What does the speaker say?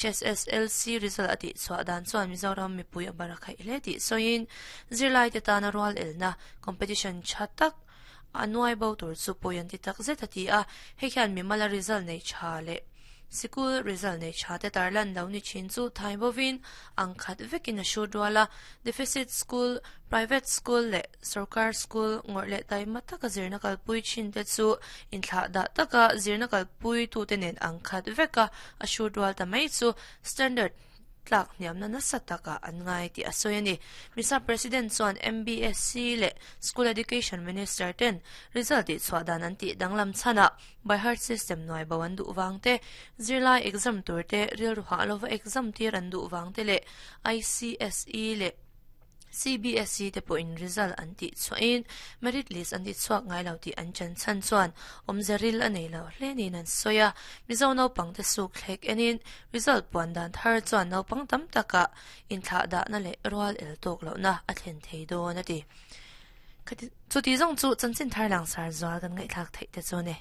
HSSLC result a tihchhuah dan chuan Mizoram mipui a bar a khaih hle tih sawiin zirlaite tana rual elna, competition, tha tak a nuai bo tur chu pawi an ti tak zet a ti a, hei hian mimala result nei tha leh sikul result nei tha te tarlan lo ni thin chu thai bovin ang khat vekin a hrut rual a, deficit school, private school leh sorkar school ngawrh leh taima taka zirna kalpui thin te chu inthlah dah taka zirna kalpui tute nen ang khat veka a hrut rual ta mai chu standard tlak hniamna nasa takah an ngai tih a sawi a ni. Misa President chuan MBSC leh School Education Minister ten result tihchhuah dan an tih danglam chhanah by heart system nuai bo an duh vang te, zirlai exam tur te rilru hah lova exam tir an duh vang te leh ICSE leh CBSE te pawhin result an tih chhuahin merit list an ti chhuak ngai lo tih an chan chhan chuan awmze ril a nei lo hle niin an sawi a. Mizo naupangte suk thlek enin result puan dan thar chuan naupang tam takah inthlah dahna leh rual el tawk lohna a thlen thei dawn a ti. Chuti zawng chu chanchin thar langsar zual kan ngaihthlak theih te chu a ni.